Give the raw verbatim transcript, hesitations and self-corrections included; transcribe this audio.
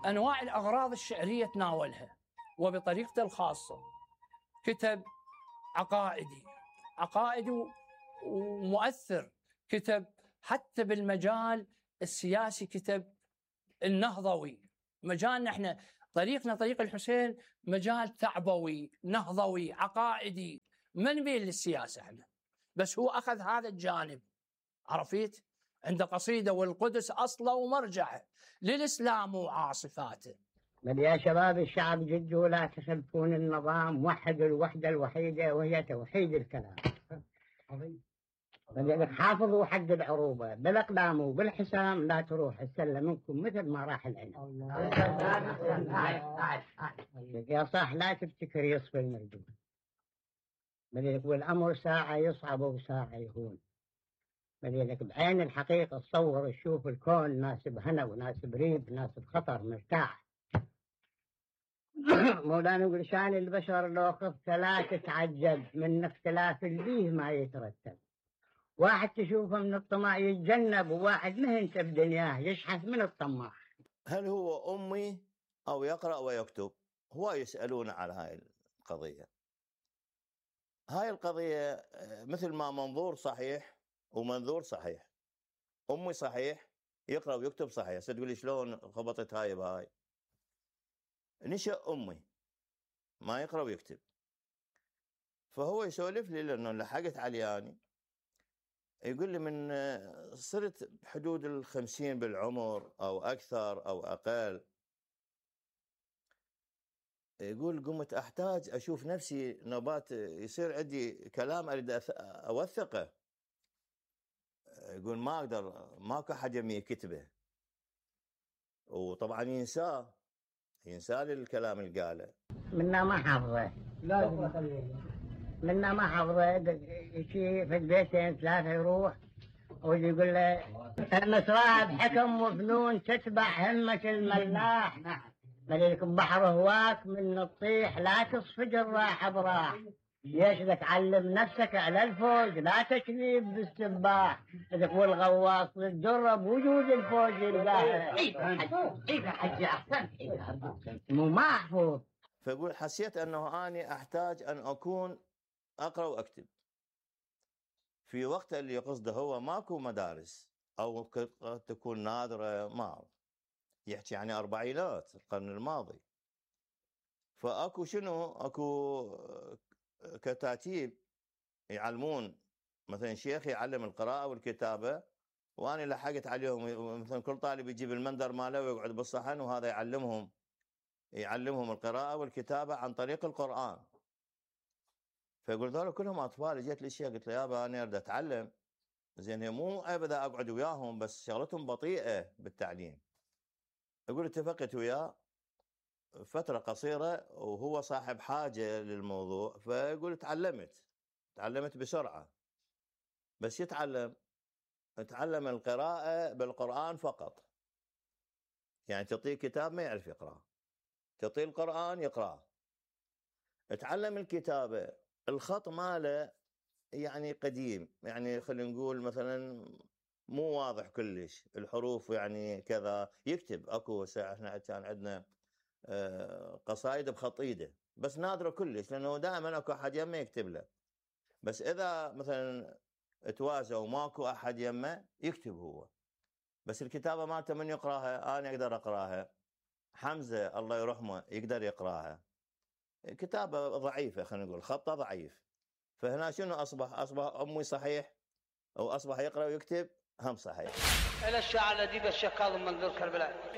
أنواع الأغراض الشعرية تناولها وبطريقته الخاصة. كتب عقائدي عقائدي ومؤثر، كتب حتى بالمجال السياسي، كتب النهضوي. مجالنا احنا طريقنا طريق الحسين مجال ثعبوي نهضوي عقائدي، ما نميل للسياسة احنا، بس هو أخذ هذا الجانب. عرفيت؟ عنده قصيدة والقدس أصله ومرجعه للإسلام وعاصفاته. بل يا شباب الشعب جدوا لا تخلفون النظام، وحدوا الوحدة الوحيدة وهي توحيد الكلام. بل حافظوا حق العروبة بالأقدام وبالحسام، لا تروح السلة منكم مثل ما راح العنب. يا صح لا تفتكر يصفي المردود، بل والأمر ساعة يصعب وساعة يهون. بل بعين الحقيقة تصور تشوف الكون ناسب هنا وناسب ريب ناسب خطر مرتاح. مولانا يقول شان البشر لو خفت لا تتعجب من اختلاف البيه ما يترتب. واحد تشوفه من الطمع يتجنب، وواحد مهنته بدنياه يشحث من الطماع. هل هو أمي أو يقرأ ويكتب؟ هو يسألون على هاي القضية. هاي القضية مثل ما منظور صحيح ومنظور صحيح. أمي صحيح، يقرأ ويكتب صحيح. ستقولي شلون خبطت هاي بهاي؟ نشأ أمي ما يقرأ ويكتب، فهو يسولف لي لأنه لحقت علياني. يقول لي من صرت بحدود الخمسين بالعمر أو أكثر أو أقل، يقول قمت أحتاج أشوف نفسي نبات، يصير عندي كلام أريد أوثقه. يقول ما أقدر، ماكو أحد يمي يكتبه، وطبعا ينساه ينسى لي الكلام اللي قاله. منا ما حافظه، منا ما حافظه. شيء في البيتين ثلاثة يروح ويجي يقول له المسراب حكم وفنون تتبع همة الملاح، مليك بحر هواك من الطيح لا تصفج الراح براح. ليش تعلم نفسك على الفوج لا تكذب بالسباح، اذا والغواص تجرب وجود الفوج يلقاه. كيف حجي احسن مو محفوظ. فيقول حسيت انه اني احتاج ان اكون اقرا واكتب في وقت اللي قصده هو ماكو مدارس او قد تكون نادره، ما يحكي يعني اربعينات القرن الماضي. فاكو شنو اكو كتاتيب يعلمون، مثلا شيخ يعلم القراءة والكتابة وأنا لحقت عليهم. مثلا كل طالب يجيب المندر ماله ويقعد بالصحن وهذا يعلمهم يعلمهم القراءة والكتابة عن طريق القرآن. فيقول ذولا كلهم أطفال. جيت لي شيخ قلت له يابا أنا أريد أتعلم، زين مو أبدا أقعد وياهم بس شغلتهم بطيئة بالتعليم. يقول اتفقت وياه فترة قصيرة وهو صاحب حاجة للموضوع، فيقول تعلمت تعلمت بسرعة. بس يتعلم تعلم القراءة بالقرآن فقط، يعني تعطيه كتاب ما يعرف يقرأ، تعطيه القرآن يقرأ. تعلم الكتابة، الخط ماله يعني قديم، يعني خلينا نقول مثلا مو واضح كلش، الحروف يعني كذا. يكتب اكو ساعة احنا كان عندنا قصائد بخط ايده بس نادرة كلش، لانه دائما اكو احد يمه يكتب له. بس اذا مثلا تواسى وماكو احد يمه يكتب هو. بس الكتابة مالته من يقراها؟ انا اقدر اقراها، حمزة الله يرحمه يقدر يقراها. كتابة ضعيفة خلينا نقول، خطه ضعيف. فهنا شنو اصبح؟ اصبح امي صحيح او اصبح يقرا ويكتب هم صحيح. الى الشاعر الاديب الشيخ كاظم منذور كربلاء.